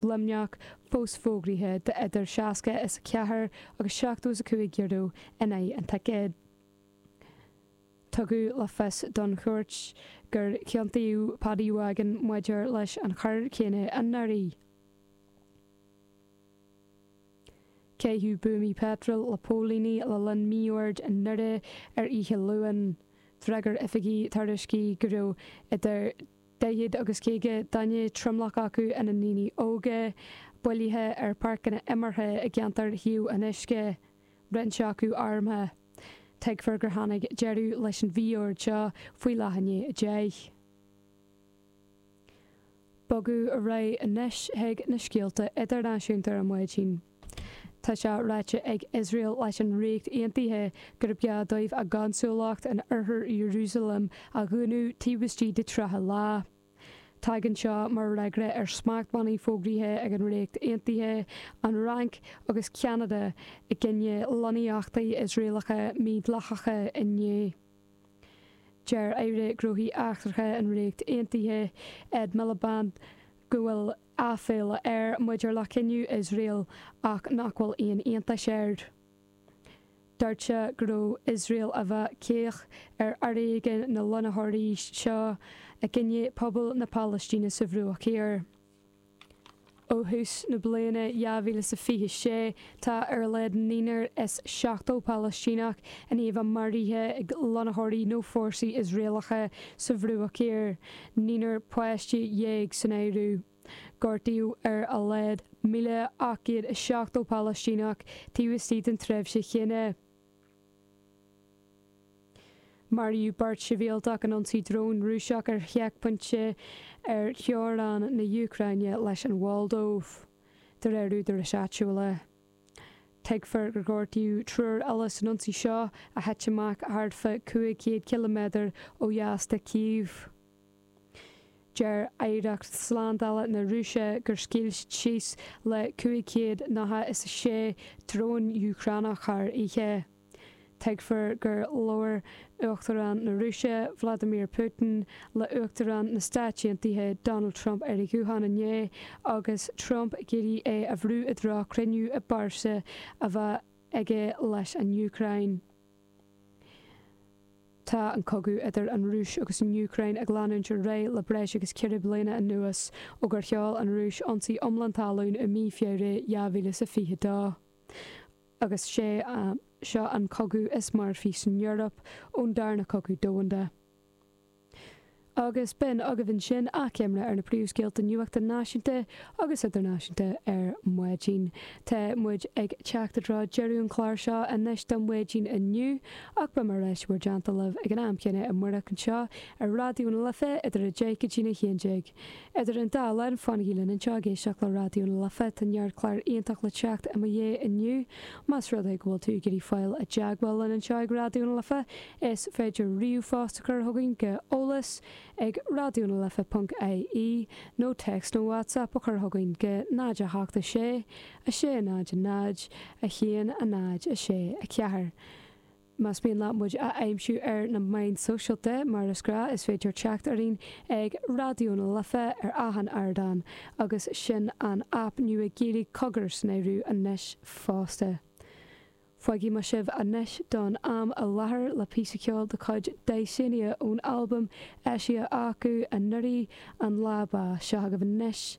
Luimneach fós fógraithe d'idir 60 is 4 agus 75 euro in aghaidh an ticéid. Tugadh le fios don chúirt gur ciontaíodh Paddy Wagon maidir leis an choir chéanna anuraidh. Caitheadh buamaí peitril le póilíní le linn mí-oird i nDoire ar oíche Luain. D'fhreagair oifigigh tuairiscí go raibh idir 40 agus 50 duine, tromlach acu ina ndaoine óga, bailithe ar pháirceanna imeartha i gceantar Thaobh an Uisce, roinnt acu armtha. Tuigfear gur tháinig deireadh leis an mhí-ord seo faoi leath i ndiaidh 10. Bogadh ar aghaidh anois chuig na scéalta idirnáisiúnta ar maidin. Tá sé ráite ag Iosrael leis an Ríocht Aontaithe gurb gá dóibh a gconsúlacht in oirthear Iarúsailéim a dhúnadh taobh istigh de 30 lá. Tagann seo mar fhreagra ar smachtbhannaí fógraithe ag an Ríocht Aontaithe, an Fhrainc agus Ceanada i gcoinne lonnaíochtaí Iosraelacha mídhleathacha inné. Deir Aire Gnóthaí Eachtracha an Ríocht Aontaithe, Ed Miliband, go bhfuil aiféala air maidir le cinneadh Iosrael ach nach bhfuil aon iontas air. Dúirt sé go raibh Iosrael a bheith caoch ar fhoréigean na lonnaitheoirí seo i gcoinne pobal na Palaistíne sa Bhruach Thiar. Ó thús na bliana 2026, tá ar a laghad naonúr is 70 Palaistíneach i ndiaidh a bheith maraithe ag lonnaitheoirí nó fórsaí Iosraelacha sa Bhruach Thiar, naonúr páiste dhéag san áireamh. Gortaíodh ar a laghad 1,870 Palaistíneach taobh istigh den tréimhse chéanna. Maraíodh beirt shibhialtach in ionsaí dróin Rúiseach ar sheicphointe ar theorainn na hÚcráine leis an Mholdóiv, de réir údaráis áitiúla. Tuigfear gur gortaíodh triúr eile san ionsaí seo, a thit amach thart fá 500 ciliméadar ó dheas de Kyiv. Deir Aireacht Slándála na Rúise gur scaoil siad síos le 596 drón Úcránach thar oíche. Tuigfear gur labhair Uachtarán na Rúise, Vladimir Putin, le Uachtarán na Stáit Aontaithe, Donald Trump ar a ghuthán inné agus Trump ag iarraidh é a bhrú i dtreo cruinniú i bpearsa a bheith aige leis an Úcráin. Tá an cogadh idir an Rúis agus an Úcráin ag leanúint ar aghaidh le breis agus 4 bliana anuas ó gur sheol an Rúis ionsaí iomlán talún i mí Feabhra 2022. Agus sé seo an cogadh is marfaí san Eoraip ón Darna Cogadh Domhanda. Agus b'in agaibh ansin achoimre ar na príomhscéalta nuachta náisiúnta agus idirnáisiúnta ar maidin. Tá muid ag teacht i dtreo deireadh an chláir seo anois don mhaidin inniu ach beidh mé ar ais i bhur dteannta libh ag an am céanna amárach anseo ar Raidió na Life idir 10 go dtína 11. Idir an dá linn, fanaigí linn anseo ag éisteacht le Raidió na Life, tá neart clár iontach le teacht i mo dhiaidh inniu. Más rud é go bhfuil tú ag iarraidh fáil i dteagmháil linn anseo ag Raidió na Life, Is féidir ríomhphost a chur chugainn go eolas ag raidionalife ponc ie nó téacs nó WhatsApp a chur chugainn go 0 8 6 6 0 0 1 0 6 4. Más mian leat muid a aimsiú ar na meáin sóisialta, mar is gnáth, is féidir teacht orainn ag Raidió na Life ar achan ardán agus sin an aip nua Gaeilge Cogar san áireamh anois fosta. Fágfaidh mé sibh anois don am i láthair le píosa ceoil de chuid Dysania ón albam eisithe acu anuraidh, An Lá Bá. Seo agaibh anois.